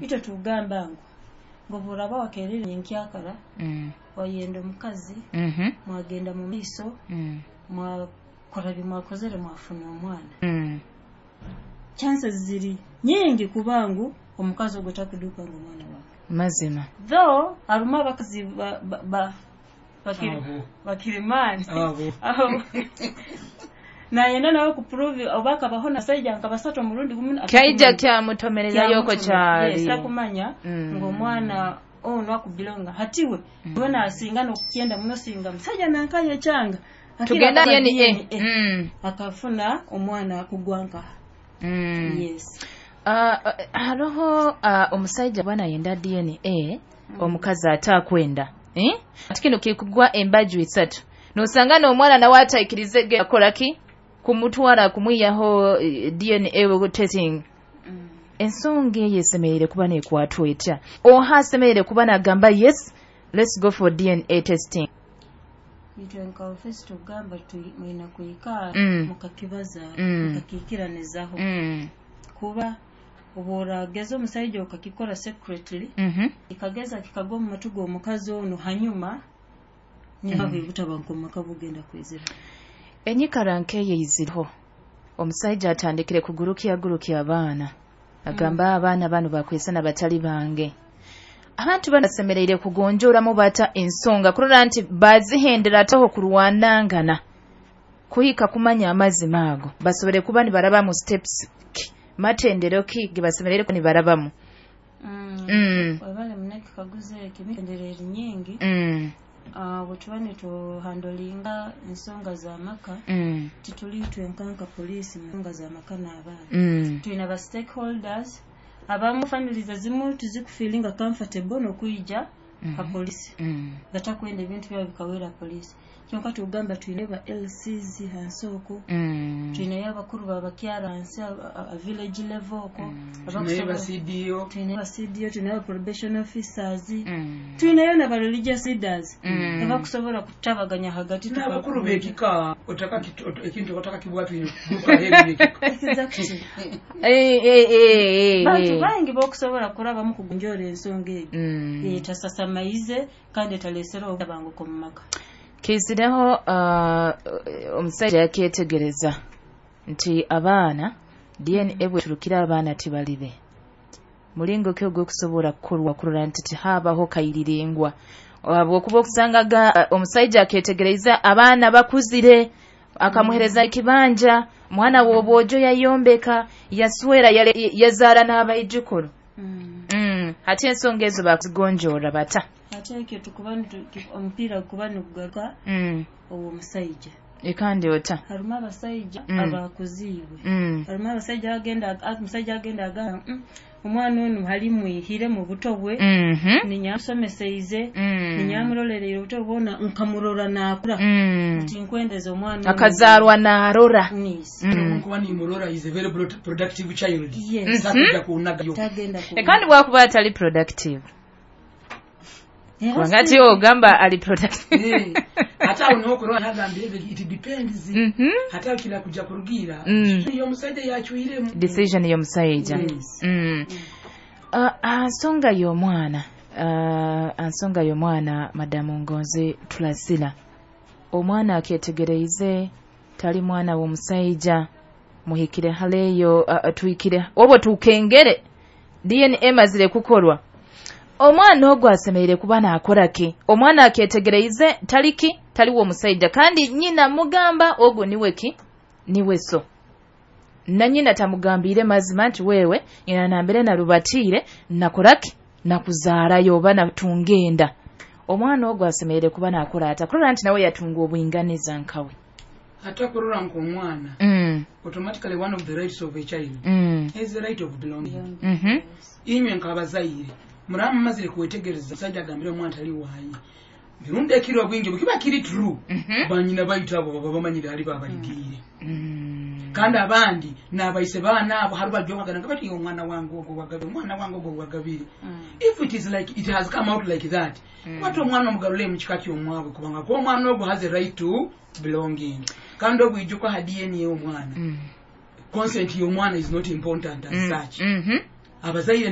Itwe tugamba ngu oburaba wakerere nyenkyakara, wayenda omukazi, mwagenda mu maiso, mwakora bimwakozere, mwafuna omwana, chances ziri nyingi kubangu omukazi ogwo takuduka ngu omwana wange. Mazima. Though harimu abakazi bakirimani. Abo. Abo. Nayenda nawe kuprove oba akabaho nasaija nka basatu omurundi gumu. Kyaija kyamutomererayoko kyali. Yes, takumanya ng'omwana ono akubilonga hatiwe we nasinga nokukyenda muno singa musajja nankaye ekyanga. Tugenda Akira DNA. DNA. Akafuna omwana akugwanka. Yes. Haroho omusajja bwana yenda DNA, omukazi atakwenda, eh? Ati kino kikugwa embaju isatu, nosanga n'omwana nawe ataikirize akola ki kumutwara kumwiyaho DNA testing. Ensonga eyo esemereire kuba nekwatwa etya? Oha asemereire kuba nagamba, "Yes, let's go for DNA testing"? Itwe nka ofisi tugamba mwina kuikaa, mukakibaza, mukakikiranizaho, kuba obworageza omusaija okakikora secretly, kikageza kikagwa omu matu g'omukazi ono, hanyuma nihaho ebutabanguko mu maka bugenda kwizira. Enyikara nkeyo eiziriho, omusajja atandikire kugurukya gurukya abaana, agamba, "Abaana bano bakwesana batali bange." Abantu bano basemereire kugonjoramu bata ensonga kurora nti bazihendera ataho kurwanangana kuhika kumanya amazima ago, basobole kuba nibarabamu steps ki, matendero ki ge basemereire kuba nibarabamu? Webale munekikaguzo ekyo. Emitendera eri nyingi. Bwe tuba nituhandolinga ensonga z'amaka, tituli twenkanka poliisi mu nsonga z'amaka n'abaana. Tulina ba stakeholders abamu, families ezimu tizikufiilinga comfortable n'okwija ha polisi, batakwenda ebintu byabo bikawera polisi. Kyonka tugamba twine ba LCs hansi okwo, twinayo abakuru babakyara hansi a village level okwo. Naye ba CDO. Twinayo ba CDO, twinayo probation officers, twinayo naba religious leaders abakusobola kutabaganya hagati. N'abakuru b'ekika ekintu otakakibwatwire kuruka. Exactly. Eh, eh, eh, eh, Bantu eh. bangi bokusobola kurabamu kugonjora ensonga eyo etasasamaize kandi etalesera obutabanguko mu maka. Kizireho omusajja yakyetegereza nti abaana, DNA bweturukira abaana tibalibe, mulingo ki ogw'okusobola kukorwa kurora nti tihabaho kairiringwa, habwokuba okusangaga omusajja aketegereza abaana bakuzire, akamuhereza ekibanja, mwana w'obwojo yayombeka, yaswera, yazaara n'abaijukuru. Ate ensonga ezo bakuzigonjora bata? Ate ekyo tukuba omupiira gukuba nigugaruka owo omusajja. Ekandi ota? Harimu abasajja abakuziibwe. Harimu abasajja agenda, omusajja agenda agamba, omwana ono hali mwihire mu buto bwe, ninyamusomeseize, ninyamurolereire obuto bwona, nkamurora naakura, nti nkwendeza omwana ono." Akazaarwa n'arora. Yes. Kuba nimurora is a very productive child. Yes. Takujja kunagayo. Tagenda ku Kandi bwakuba atali productive? Era Kubanga ati ogamba ali productive. Eh, ate awo nokurola nagambire it depends. Ate awo kira kujja kurugira y'omusajja yacyuyiremu. Decision y'omusajja. Yes. Nsonga y'omwana, nsonga y'omwana, madamu Ngonzi Tulasila, omwana akyetegereize tali mwana w'omusajja, muhikire haleyo, tuhikire obwo tukengere DNA emazire kukorwa, omwana ogwo asemereire kuba naakora ki? Omwana akyetegereize tali ki, taliwo omusajja, kandi nyina mugamba ogwo niwe ki, niwe so, na nyina tamugambire mazima nti wewe nyina nambere narubatiire nakoraki nakuzaarayo oba natunga enda. Omwana ogwo asemereire kuba nakora ata kurora nti nawe yatunga obwinganiza nkawe? Ate kurora nk'omwana, automatically one of the rights of a child is the right of belonging. Inywe nk'abazaire muraba mumazire kwetegereza omusajja agambire omwana tali waaye, mirundi ekiro obwingi bwekiba kiri true, banyina baitu abo baba bamanyire hali babaligiire. Kandi abandi nabaise baana abo hari bajokagana nga bati, "Omwana wange ogwo wagabire, omwana wange ogwo wagabire." If it is like it has come out like that, kwata omwana omugalule mu kika ky'omwabwe, kubanga ko omwana ogwo has a right to belonging. Kandi obwijuka ha DNA omwana, consent y'omwana is not important as such. Abazaire.